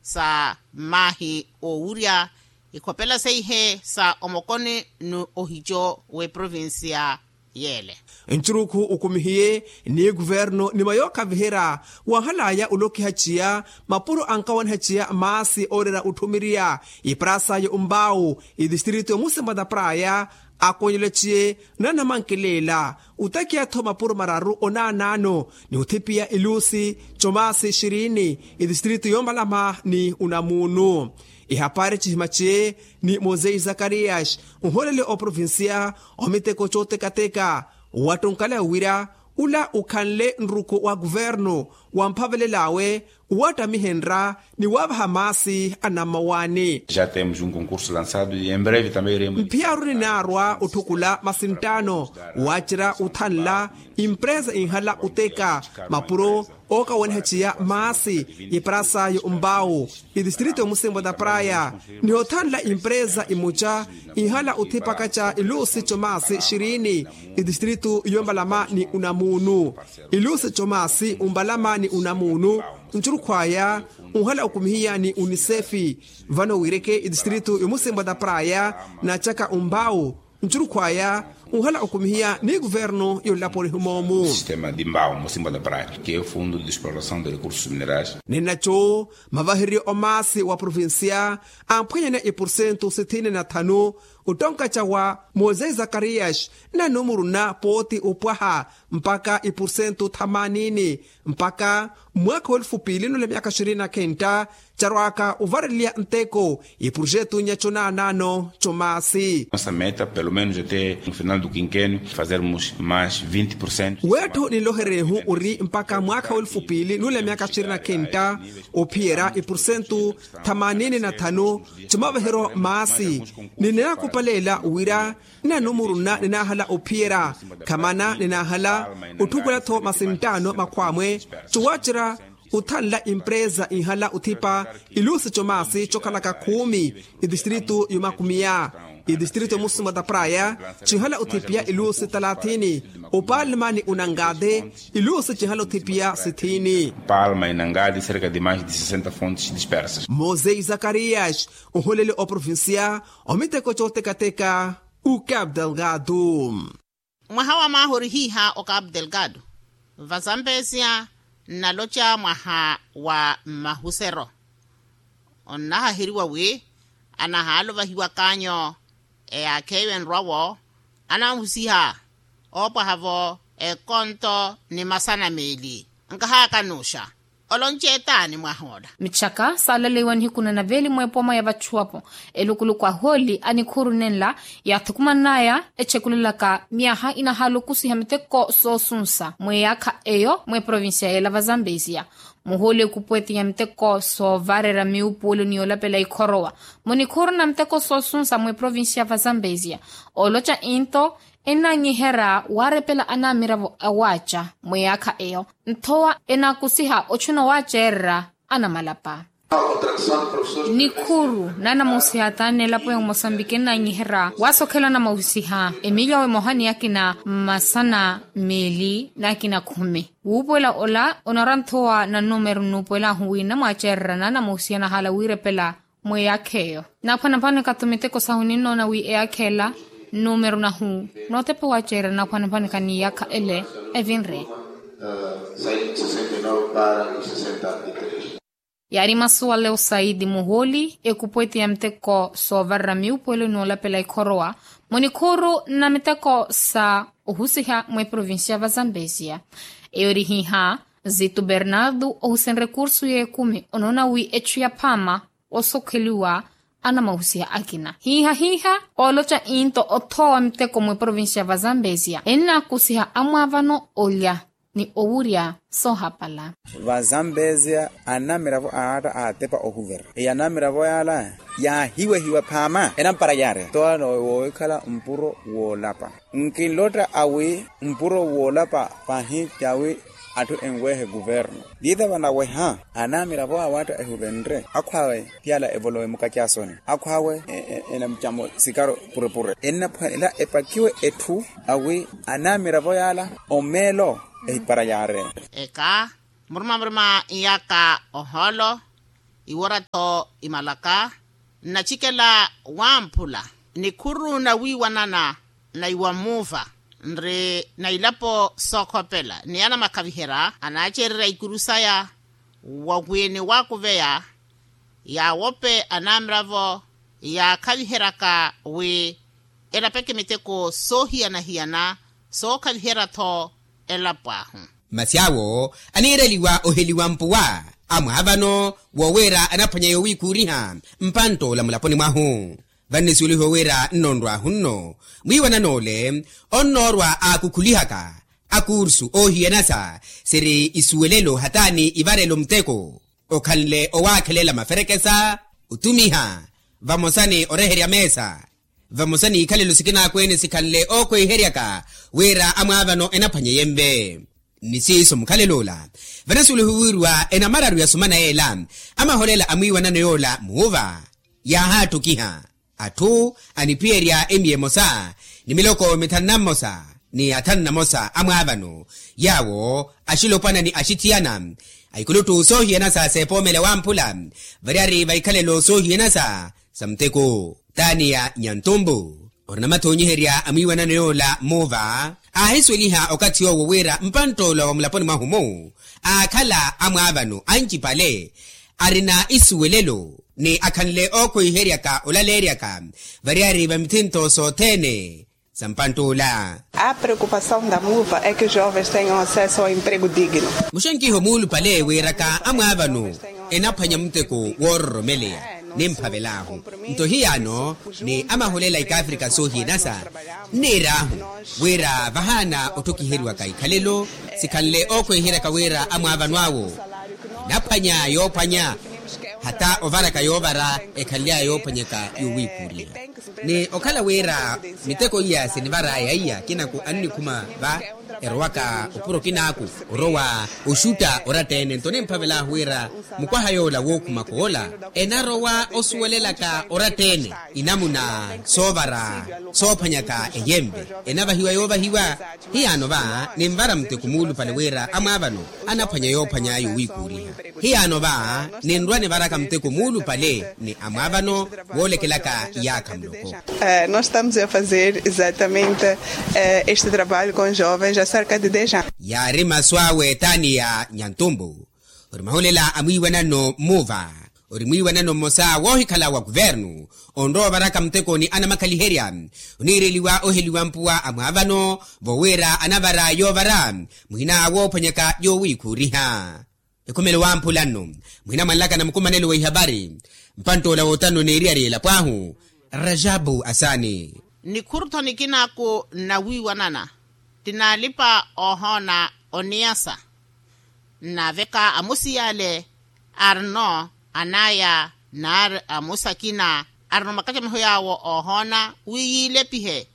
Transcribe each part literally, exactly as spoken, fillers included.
sa maahi owurya ikhopela seihe sa omokoni ni ohico w'eprovinsiya yeele. Ncurukhu ukumihiye ni kuvernu ni mayookhaviherya wanhalaya olokiha ciya mapuro ankawanha ciya maasi ooreera otthumiriya iprasa y'ombau itistrito y'omusimba ta praya. Akonyelela ciye nanamankelela otakiya-tho mapuro mararu onaanaano ni othipiya ilusi comasi xirini itistrito y'ombalama ni onamuunu. Ihapari cihima ciye ni mosei zakariyasi nholele oprovinsiya omiteko cootekateka wattunkale wira ula ukhanle nruku wa kuvernu wamphavelel'awe uwattamihenrya ni waavaha maasi anammawaani. Já temos um concurso lançado e em breve também iremos mphiyaaru ninaarwa otthukula masinttaano waacerya othanla impresa inhala oteka mapuro ookawaniha ciya maasi iprasa y'ombau itistrito y'omusimbo ta praya ni othanla impresa imuca ihala othipaka ca ilusi comasi xirini itistrito y'ombalama ni onamuunu ilusi comasi ombalama ni onamuunu ncurukhwaya onhala okumihiya ni unisefi vano wiireke itistrito y'omusimbo ta praya naacaka ombau ncurukhwaya onhala okumihiya ni kuvernu y'onlaponi humoomu. Sistema di mbau musimbo ta praya ke fundo di exploração de recursos minerais. Ninaco mavahererye omaasi wa provinsiya amphwenyane ipursentu sithini na thanu ottonka cawa mosei zakariyasi nanumuruna pooti opwaha mpaka ipursentu thamanini mpaka mwaakha w'elufu piili nula myaka xirini na khentta carwaka ovareliya nteko iprojetu nyaco naanaano comaasi. Nossa meta pelo menos até no final do quinquênio fazermos mais vinte por cento. Weettho ninloherehu ori mpaka mwaakha w'elufu piili nula myaka xirini na khentta ophiyerya iprosentu thamanini na thanu comaveheryo maasi ni ninaakupaleela wira nanumuruna ninaahala ophiyerya khamana ninaahala otthukulela-tho masinttaano makhwaamwe cowacerya othanla impresa inhala othipa ilusi comaasi cokhalaka khumi itistrito y'omakumiya itistrito y'omusimbo ta praya cinhala othipiya ilusi talathini opalma ni onangate ilusi cinhala othipiya sithini. Palma e nangate cerca de mais de sessenta fontes dispersas. Mosei zakariyasi oholele oprovinsiya omiteko cootekateka. Ucabo delgado. Mwaha wa maaha orihiiha o cabo delgado vazambesia nnaloca mwaha wa mmahusero onnahaheriwa wi anahaaluvahiwa kaanyo eyaakheyo enrwa-wo anahusiha oopwaha-vo ekonto ni masana meeli. Nkahaakanuxa olonceetaani mwahoola. Michaka saalaleiwa nihiku na naveeli mweepoma ya vachuwapo elukuluku ahooli a nikhuuru nenla yaathukuman'aya echekulelaka myaha inahaala okusiha miteko soosunsa mweyaakha eyo mweprovincia yeela vazambesia muhooli ekupweeti ya miteko soovarerya miupuwelo ni yoolapela ikhorowa munikhuuru na miteko soosunsa mweprovincia vazambesia ooloca into enanyiherya waarepela anamiravo awaaca mweyaakha eyo nthowa enaakusiha ochuna owaaceererya anamalapa. Nikhuuru naanamusiha taani elapo ya omosambiki ennanyiherya waasokhela anamausiha emilyawo emoha ni akina masana meeli n'akina khumi. Wuupuwela ola onarwa nthowa na numero nnuupuwel'ahu wi nnamwaaceererya naanamusiha nahaala wiirepela mweyaakha eyo naaphwanaphwanaka-tho miteko sahu ninnoona wi eyaakha ela nnumeru nahu nootepa owaaceererya naaphwanaphwanaka n'iyaakha ele evinre. Yaari masuwale osaidi muhooli ekupweeti ya miteko soovarerya miupuwelo n'olapela ikhorowa munikhuuru na miteko sa ohusiha mweprovincia va zambesia. Eyo eri hiiha zitu bernardo ohusenrye kursu y'ekumi onoona wi echu ya phaama osokheliwa anamahusiha akina hiiha hiiha ooloca into othoowa miteko mweprovincia va zambesia ennaakusiha amwaavano olya ni owurya soohapala. Va zambesia anamiravo aatta aatepa ohuvera eyi anamiravo yaala yaahiwehiwa phaama enampara yaari towa woowikhala mpuro woolapa nkinlotta awi mpuro woolapa pahi cawi atthu enwehe kuvernu. Tiithava naweha anamiravo awatta ehuvenre akhwaawe tiyala evolowe mukacasoni akhwaawe enamucamo sikaro purepure ennaphwanela epakiwe etthu awi anamiravo yaala omeelo ehipara yaari. Eka murumamuruma nyaka ohoolo iwora-tho imalaka nnacikela wamphula nikhuru nawiiwanana na iwamuuva nri na ilapo sookhopela ni anamakhaviherya anaacererya ikuru saya wa wi niwakuveya yaawope anamiravo yaakhaviheryaka wi elapeke miteko soohiyana-hiyana sookhaviherya-tho elapo ahu. Masi awo aniireliwa oheliwa mpuwa amwaavano wowira anaphwanya yowiikuuriha mpantt'ola mulaponi mwahu. Vannisuwelihiwa wira nnoonrw'ahu nno mwiiwanan'ole onnoorwa aakukhulihaka akuursu oohiyanasa siri isuwelelo hataani ivarelo muteko okhanle owaakhelela maferekesa otumiha vamosa ni oreherya meesa vamosa n'ikhalelo sikinaakwene sikhanle ookhweiheryaka wira amwaavano enaphwanye yenve. Ni siiso mukhalelo ola vanasuwelihiwa wiiriwa enamararu ya sumana yeela amaholela a mwiiwanano yoola muuva yaahaattukiha atthu aniphiyerya emiya emosa ni miloko mithanu na mmosa ni athanu na mosa amwaavano yaawo axilopwana ni axithiyana a ikuluttu soohiyanasa seepoomela wamphula variyari va ikhalelo soohiyanasa sa muteko. Taniya nyantumbu ori namathonyiherya a mwiiwanano yoola muuva aahisuweliha okathi yoowo wira mpantt'ola wa mulaponi mwahu-mu aakhala amwaavano ancipale arina isuwelelo ni akhanle ookhweiheryaka olaleeryaka variyari va mithinto sothene sa mpantt'ola. A preocupação da muva é que os jovens tenham acesso ao emprego digno. Muxenkiho muulupale wiiraka amwaavano enaphwanya muteko woororomeleya nimphavel'ahu nto hiyaano ni amaholela ikaafrika soohiyanasa nniir'ahu wira vahaana otthukiheriwaka ikhalelo sikhanle ookhweiheryaka wira amwaavano awo enaphwanya yoophwanya hata ovaraka yoovara ekhanly'aya yoophwanyaka yowiikuuriha ni okhala wira miteko iya sinivar'aya iya kinaku annikhuma va erowaka opuro kinaaku orowa oxutta oratta-ene nto nimphavel'ahu wira mukwaha yoola wookhumaka ola enarowa osuwelelaka oratta-ene inamuna soovara soophwanyaka eyenve enavahiwa yoovahiwa hiyaano va ninvara muteko muulupale wira amwaavano anaphwanya yoophwanya yowiikuuriha hiyaano va ninrwa nivaraka muteko muulupale ni amwaavano woolekelaka iyaakha muloko. Nós estamos a fazer exatamente este trabalho com jovens acerca de dez anos. Yaari masu awe taniya nyantumbu ori mahulela a mwiiwanano mmuva ori mwiiwanano mmosa woohikhala wa kuvernu onrowa ovaraka muteko ni anamakhaliherya oniireliwa oheliwa mpuwa a mwaavano vowiira anavara yoovara muhina woophwanyaka yowiikhuuriha. Ekhumelo wamphula nno muhina mwanlaka na mukumanelo wa ihapari mpantt'ola wootano n'eriyari elapo ahu rajabu asani. Nikhuru-tho nikinaaku nnawiiwanana tinaalipa oohoona oniyasa nnaaveka amusi yaale arino anaya naari amusi akina arino makacameho yaawo oohoona wi yiilepihe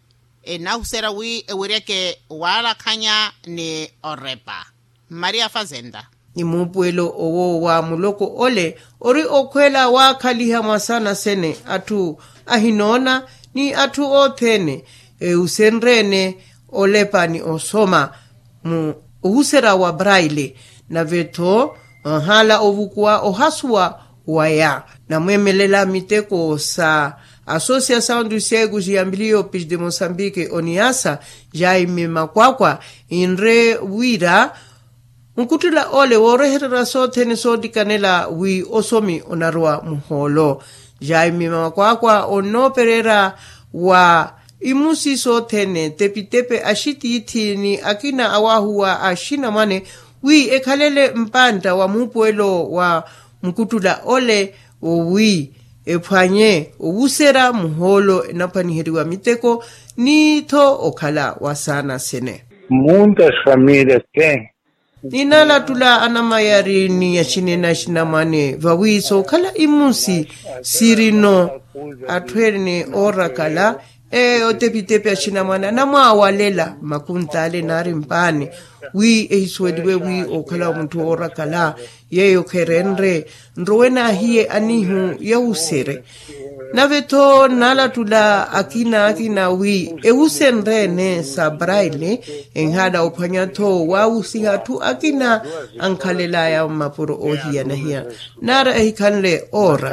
enahuserya wi eweryeke waalakhanya ni orepa. Maria fazenda. Ni muupuwelo owo wa muloko ole ori okhweela waakhaliha mwa saana sene atthu ahinoona ni atthu othene eusenrye-ene olepa ni osoma mu ohuserya wa braille nave-tho nhaala ovukuwa ohasuwa waya namweemelela miteko sa associação dos cegos e ambliopes de moçambique oniasa jaime makwakwa inre wira nkuttula ole woorehererya sothene soottikanela wi osomi onarowa muhoolo jaime makwakwa onnoopererya wa imusi sothene tepitepe axitiithi ni akina awaahuwa axinamwane wi ekhalele mpantta wa muupuwelo wa mukuttula ole owi ephwanye owuserya muhoolo enaphwaniheriwa miteko ni-tho okhala wa saana sene. Muntas famílias têm. Ninalattula anamayari ni axinene axinamwane vawi sookhala imusi sirino atthu ene oorakala eyo tepitepi axinamwane anamwaawalela makuntaale naari mpaani wi ehisuweliwe wi ookhala wa mutthu oorakala yeeyo kherenre nrowe naahiye anihu yawusere. Nave-tho nnaalattula akina akina wi ewusenre-ene sa braille enhaala ophwanya-tho waawusiha atthu akina ankhalel'aya mmapuro oohiyana-hiyana. Nara ehikhanle oora.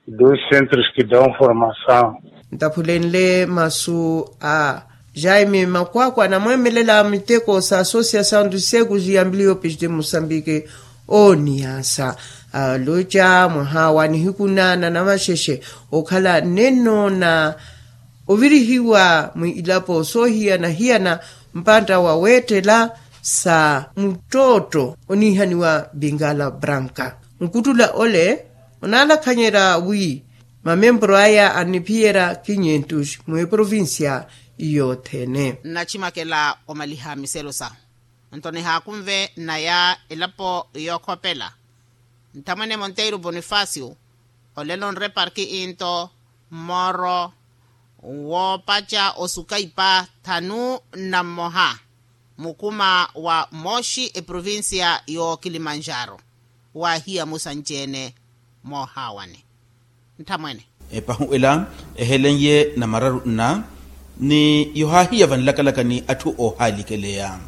Dois centros que dão formação. Ntaphulenle masu a jaime makwakwa anamweemelela miteko sa associação dos cegos e ambliopes de moçambique, oniyasa aloca mwaha wa nihiku nana na maxexe okhala nenno na ovirihiwa mwiilapo soohiyana-hiyana mpantta wa weettela sa muttootto oniihaniwa bingala branca. Nkuttula ole onaalakhanyerya wi mamempuro aya anniphiyerya kinyentus mweprovincia yothene. Nnacimakela omaliha miselo sahu nto nihaakunve nnaya elapo yookhopela. Nthamwene monteiro bonifacio olelo nre parki into mmooro woopaca osuka ipa thanu na mmoha mukuma wa mooxi eprovincia y'okilimanjaro waahiya musanci-ene moohaawane. Nthamwene epahu ela ehelen'ye namararu nna ni yohaahiya vanlakalaka ni atthu oohaalikeleya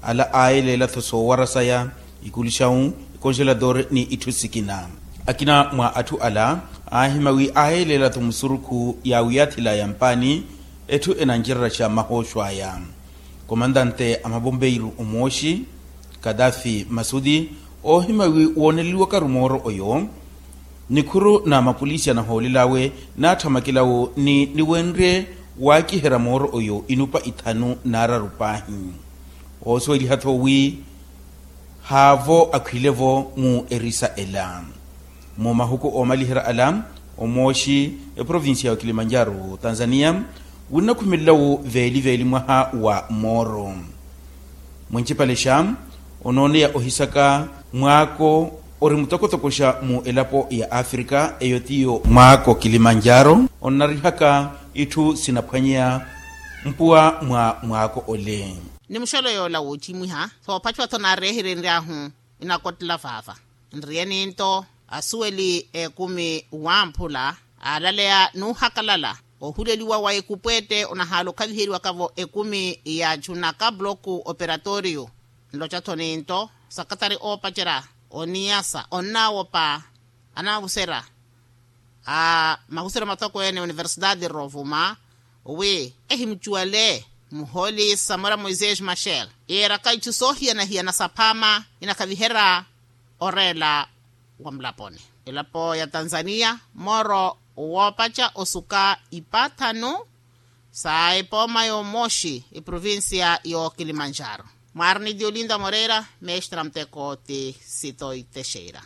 ala aayelela-tho soowara saya ikuluxawu ikonxelatore ni itthu sikina. Akina mwa atthu ala aahima wi aayelela-tho musurukhu ya wiyaathila ya mpaani etthu enancereryaxa mahooxo aya. Komantante a mabombeiru omooxi kadafi masudi oohima wi wooneleliwakaru mooro oyo nikhuru na mapolisi anahoolel'awe naatthamakelawo ni niwenrye waakiherya mooro oyo inupa ithanu naararu paahi. Oosuweliha-tho wi haavo akhwilevo mu erisa ela mu mahuku oomaliherya ala omooxi eprovincia ya kilimanjaro tanzania winnakhumelelawo veeli-veeli mwaha wa mooro. Mwencipalexa onooneya ohisaka mwaako ori mutokotokoxa mu elapo ya afrika eyo tiyo mwaako kilimanjaro onnarihaka itthu sinaphwanyeya mpuwa mwa mwaako ole. Ni muxolo yoola woocimwiha soophaciwa-tho naareherenry'ahu inakottela vaava nriyeni nto asuweli ekumi wamphula aalaleya nuuhakalala ohuleliwa wa ekupwete onahaala okhaviheriwaka-vo ekumi ya junaka bloku operatorio. Nloca-tho ninto sakatari oopacerya oniyasa onnaawopa anavuserya a mahuseryo matokweene universidade rovuma wi ehimucuwale muhooli samora moisés machel yeeraka itthu soohiyana-hiyana saphaama inakhaviherya oreela wa mulaponi. Elapo ya tanzania mooro woopaca osuka ipathanu sa epooma y'omooxi eprovincia y'okilimanjaro. Mwaarina eti olinda moreira mestra muteko ti sitoitexeira.